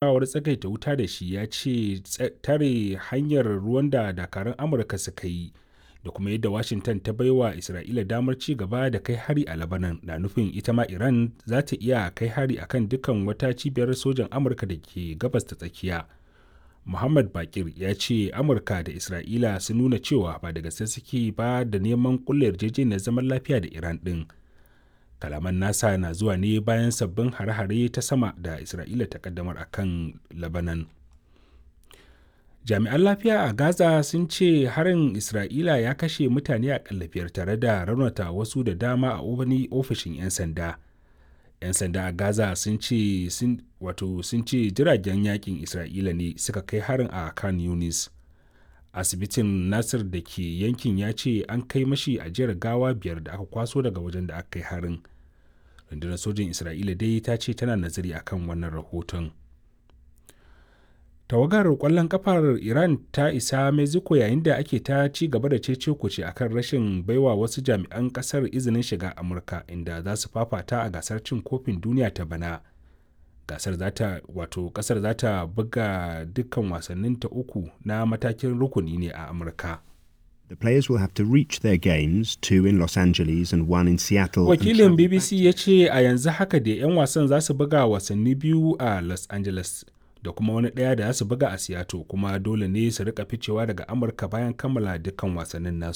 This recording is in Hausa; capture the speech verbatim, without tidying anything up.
Tattaunawar tsagaita wuta da shi ya ce tare hanyar ruwan da dakarun Amurka suka yi da kuma yadda Washington ta baiwa Isra'ila damar ci gaba da kai hari a Lebanon na nufin ita ma Iran za ta iya kai hari a kan dukkan wata cibiyar sojan Amurka da ke Gabas ta Tsakiya. Mohammed Bakir ya ce Amurka da Isra'ila sun nuna cewa ba da gaske suke ba da neman kulla yarjejeniyar zaman lafiya da Iran ɗin. Kalaman nasa na zuwa ne bayan sabbin hare-hare ta sama da Isra'ila ta kaddamar a kan Lebanon. Jami'an lafiya a Gaza sun ce harin Isra'ila ya kashe mutane aƙalla biyar tare da raunata wasu da dama a wani ofishin 'yan sanda. 'Yan sanda a Gaza sun ce sun wato sun ce jiragen yakin Isra'ila ne suka kai harin a Khan Yunis. Asibitin Nasir da ke yankin ya ce an kai mashi ajiyar gawa biyar da aka kwaso daga wajen da aka kai harin. Rundunar sojin Isra'ila dai ta ce tana nazari akan wannan rahoton. Tawagar kwallon kafar Iran ta isa Mexico yayin da ake ta ci gaba da cece kuce akan rashin baiwa wasu jami'an kasar izinin shiga Amurka inda za su fafata a gasar cin kofin duniya ta bana. Gasar za ta wato kasar za ta buga dukkan wasannin ta uku na matakin rukuni ne a Amurka. The players will have to reach their games, two in Los Angeles and one in Seattle. and Wakilin travel B B C ya ce a yanzu haka da 'yan wasan za su buga wasanni biyu a Los Angeles da kuma wani ɗaya da za su buga a Seattle, kuma dole ne su rika ficewa daga Amurka bayan kammala dukkan wasannin nasu.